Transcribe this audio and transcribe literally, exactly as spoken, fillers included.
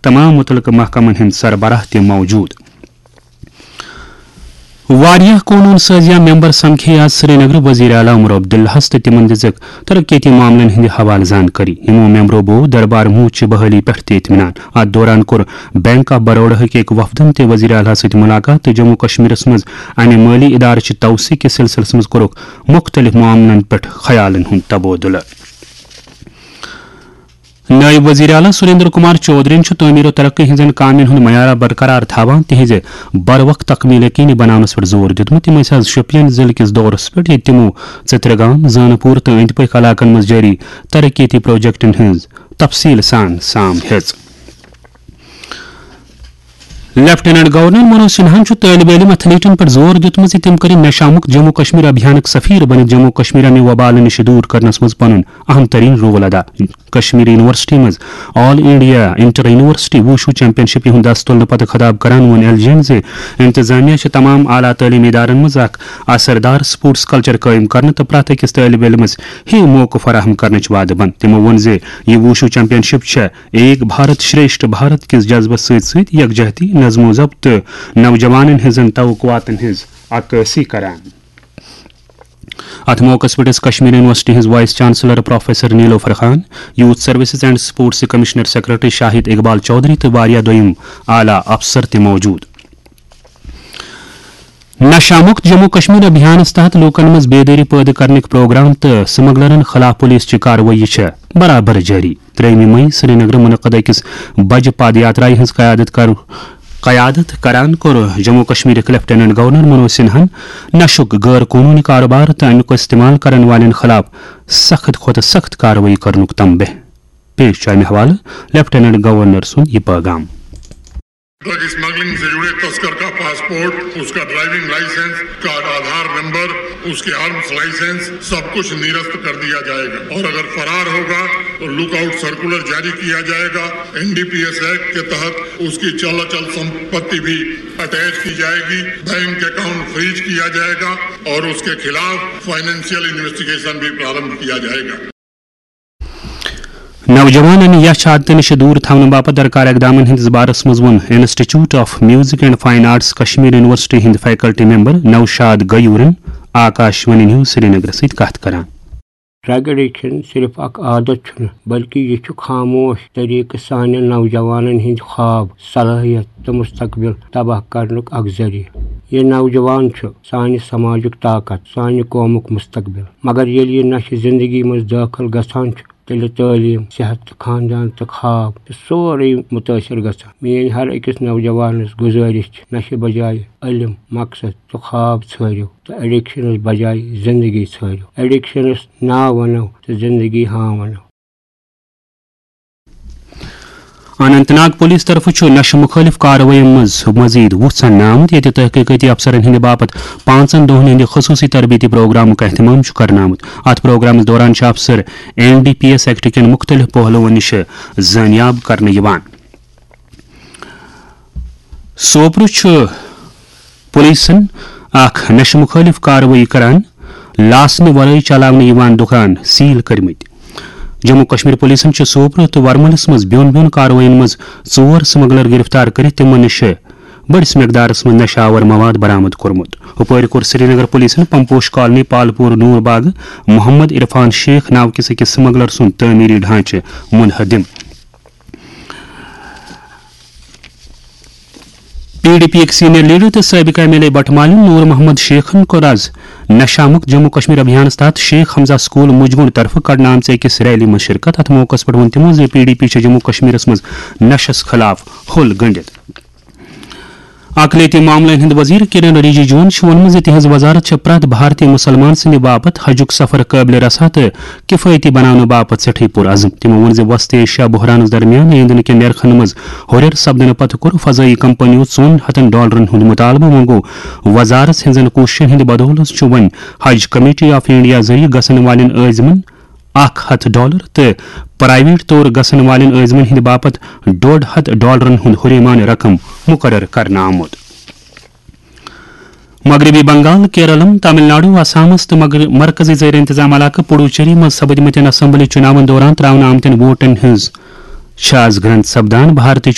تمام متعلقہٕ محکمن ہٕنٛدۍ سربراہ تہِ موجود۔ واریاہ قونوٗن سازیہ ممبر سمکھے آز سرینگر وزیر اعلیٰ عمر عبداللہس تہٕ تِمن دِژٕکھ ترقیتی معاملن ہٕنٛدِ حوالہٕ زانکٲری۔ یِمو ممبرو بوو دربار موٗد چہِ بحٲلی پٮ۪ٹھ تہِ اطمینان۔ اتھ دوران کوٚر بینک آف بروڈاہٕکۍ أکۍ وفدن تہِ وزیر اعلیٰ سۭتۍ ملاقات تہٕ جموں کشمیرس منٛز امہِ مٲلی ادارٕ چہِ توسیع کِس سلسلس منٛز کوٚرُکھ مُختٔلِف معاملن پٮ۪ٹھ خیالن ہُنٛد تبادلہٕ۔ نٲیِب وزیر اعلیٰ سریندر کمار چودھرین چھُ تعمیر و ترقی ہٕنٛزن کامٮ۪ن ہُنٛد معیار برقرار تھاوان تِہنٛزِ بروقت تکمیل یقینی بناونس پٮ۪ٹھ زور دیُتمُت۔ تِم ٲسۍ از شوپین ضلعہٕ کِس دورس پٮ۪ٹھ، ییٚتہِ تِمو ژترگام، زانپور تہٕ أنٛدۍ پٔکۍ علاقن منٛز جٲری ترقیتی پروجیکٹن ہٕنٛز تفصیل سان سام ہیٚژ۔ لیفٹیننٹ گورنر منوج سنہاہن چھُ طٲلبِ علم ایتھلیٹن پٮ۪ٹھ زور دیُتمُت زِ تِم کٔرِن نشہ مُکت جموں کشمیر ابھیانٕک سفیر بٔنِتھ جموں کشمیر امہِ وبالہٕ نِش دوٗر کرنس منٛز پنُن اہم ترین رول ادا۔ کشمیر یونیورسٹی منٛز all India inter university wushu championship ہُنٛد دست تُلنہٕ پتہٕ خطاب کران ووٚن ایل جی ین زِ انتظامیہ چھِ تمام اعلیٰ تعلیمی ادارن منٛز اکھ اثردار سپورٹس کلچر قٲیِم کرنہٕ تہٕ پرٛٮ۪تھ أکِس طٲلبِ علمس ہِوۍ موقعہٕ فراہم کرنٕچ وعدٕ بنٛد۔ تِمو ووٚن زِ یہِ ووشو چیمپین شپ چھےٚ ایک بھارت شریشٹھ بھارت کِس جذبس سۭتۍ سۭتۍ یکجہتی، نظم و ضبط تہٕ نوجوانن ہٕنٛزن توقعاتن ہٕنٛز عکٲسی کران۔ اتھ موقعس پٮ۪ٹھ ٲس کشمیر یونیورسٹی ہٕنٛز vice chancellor professor Nilofar Khan, youth services and sports commissioner secretary Shahid Iqbal Chaudhary تہٕ واریاہ دوٚیم اعلیٰ افسر تہِ موجود۔ نشہ مکت جموں کشمیر ابھیانس تحت لوکن منٛز بیدٲری پٲدٕ کرنٕکۍ پروگرام تہٕ سمگلرن خلاف پولیس چہِ کاروٲیی چھےٚ برابر جٲری۔ ترٛیٚیِمہِ مئی سرینگرٕ منعقد أکِس بجہِ پد یاترایہِ ہٕنٛز قیادت کر-، قیادت کران کوٚر جموں کشمیرٕکۍ لیفٹیننٹ گورنر منوج سنہاہن نشُک غٲر قونوٗنی کارٕبار تہٕ اَمیُک استعمال کرن والٮ۪ن خلاف سخت کھۄتہٕ سخت کاروٲیی کرنُک تنبیہ۔ پیش چھُ اَمہِ حوالہٕ لیفٹیننٹ گورنر سُنٛد یہِ پٲغام۔ ڈرگ اسمگلنگ سے جڑے تسکر کا پاسپورٹ، اس کا ڈرائیونگ لائسنس، اس کا آدھار نمبر، اس کے آرمز لائسنس، سب کچھ نرست کر دیا جائے گا، اور اگر فرار ہوگا تو لک آؤٹ سرکولر جاری کیا جائے گا۔ N D P S act کے تحت اس کی چل اچل سمپتی بھی اٹیچ کی جائے گی، بینک اکاؤنٹ فریز کیا جائے گا اور اس کے خلاف فائنینشیل انویسٹیگیشن بھی پرارمبھ کیا جائے گا۔ نوجوانن یچھ عادتہٕ نِش دوٗر تھاونہٕ باپتھ درکار اقدامن ہٕنٛدِس بارس منٛز ووٚن institute of music and fine arts Kashmir university ہٕنٛدۍ فیکلٹی ممبر نوشاد غیورن آکاش وانی نیوز سرینگرس سۭتۍ کتھ کران۔ ڈرگ ایڈکشن صرف اکھ عادت چھُنہٕ، بلکہِ یہِ چھُ خاموش طریقہٕ سانٮ۪ن نوجوانن ہٕنٛدۍ خواب، صلٲحیت تہٕ مستقبل تباہ کرنُک اکھ ذٔریعہٕ۔ یہِ نوجوان چھُ سانہِ سماجُک طاقت، سانہِ قومُک مستقبل۔ مگر ییٚلہِ یہِ نشہٕ زندگی منٛز دٲخل گژھان چھُ، تیٚلہِ تعلیٖم، صحت تہٕ خاندان تہٕ خواب چھُ سورُے مُتٲثر گژھان۔ میٲنۍ ہر أکِس نوجوانس گُزٲرِش چھِ، نشہٕ بجایہِ علم، مقصد تہٕ خواب ژھٲرِو تہٕ ایڈکشنس بجایہِ زندگی ژھٲرِو۔ ایڈکشنس نا ونو تہٕ زندگی ہاں ونو۔ اننت ناگ پولیس طرفہٕ چھُ نشہٕ مُخٲلِف کاروٲیی منٛز مزید وُژھ اننہٕ آمُت، ییٚتہِ تحقیقٲتی افسرن ہٕنٛدِ باپتھ پانٛژن دۄہن ہٕنٛدِ خصوٗصی تربیتی پروگرامُک اہتمام چھُ کرنہٕ آمُت۔ اتھ پروگرامس دوران چھِ افسر N D P S act کٮ۪ن مُختٔلِف پہلوَن نِش زٲنیاب کرنہٕ یِوان۔ سوپرٕ چھُ پولیسن اکھ نشہٕ مُخٲلِف کاروٲیی کران لاسنہٕ ورٲے چلاونہٕ یِوان دُکان سیل کٔرمٕتۍ۔ جموں کشمیر پولیسن چھِ سوپرٕ تہٕ ورمُلِس منٛز بیوٚن بیوٚن کاروٲیین منٛز ژور سمگلر گرفتار کٔرِتھ تِمن نِش بٔڑِس مقدارس منٛز نشہٕ آور مواد برآمد کوٚرمُت۔ ہُپٲرۍ کوٚر سرینگر پولیسن پمپوش کالنی پالپور نور باغ محمد عرفان شیخ ناو کِس أکِس سمگلر سُنٛد تعمیٖری ڈھانچہٕ منہدم۔ پی ڈی پی یٕکۍ سینئر لیڈر تہٕ سٲبقہٕ ایم ایل اے بٹہٕ مالیُن نور محمد شیخن کوٚر از نشہ مکت جموں کشمیر ابھیانس تحت شیخ حمزہ سکول مجگُنڈ طرفہٕ کڑنہٕ آمژِ أکِس ریلی منٛز شرکت۔ اتھ موقعس پٮ۪ٹھ ووٚن تِمو زِ پی ڈی پی چھِ جموں کشمیرس منٛز نشس خلاف حل گٔنڈِتھ۔ اقلیتی معاملن ہٕنٛدۍ وزیر کِرن رِجیجوَن چھُ ووٚنمُت زِ تِہنٛز وزارت چھےٚ پرٛٮ۪تھ بھارتی مُسلمان سٕنٛدِ باپتھ حجُک سفر قٲبلِ رسا تہٕ کِفٲیتی بناونہٕ باپتھ سٮ۪ٹھٕے پُر عزم۔ تِمو ووٚن زِ وسطی ایشیا بحرانَس درمیان ایندھن کٮ۪ن نرخن منٛز ہُرٮ۪ر سپدنہٕ پتہٕ کوٚر فضٲیی کمپنیو ژۄن ہتن ڈالرن ہُنٛد مُطالبہٕ۔ وۄنۍ گوٚو وزارت ہٕنٛزن کوٗششن ہٕنٛدِ بدولس چھُ وۄنۍ حج کمیٹی آف انڈیا ذٔریعہٕ گژھن والٮ۪ن عٲزمن اکھ ہتھ ڈالر تہٕ پرائیویٹ طور گژھن والٮ۪ن عٲزمن ہٕنٛدِ باپتھ ڈۄڈ ہتھ ڈالرن ہُنٛد ہُریمانہٕ رقم مُقرر کرنہٕ آمُت۔ مغربی بنگال، کیرلم، تامل ناڈو، آسامس تہٕ مغر-، مرکزی زیر انتظام علاقہٕ پڈوچیری منٛز سپدمٕتٮ۪ن اسمبلی چُناون دوران تراونہٕ آمتٮ۪ن ووٹن ہٕنٛز چھِ از گرنٛد سپدان۔ بھارتی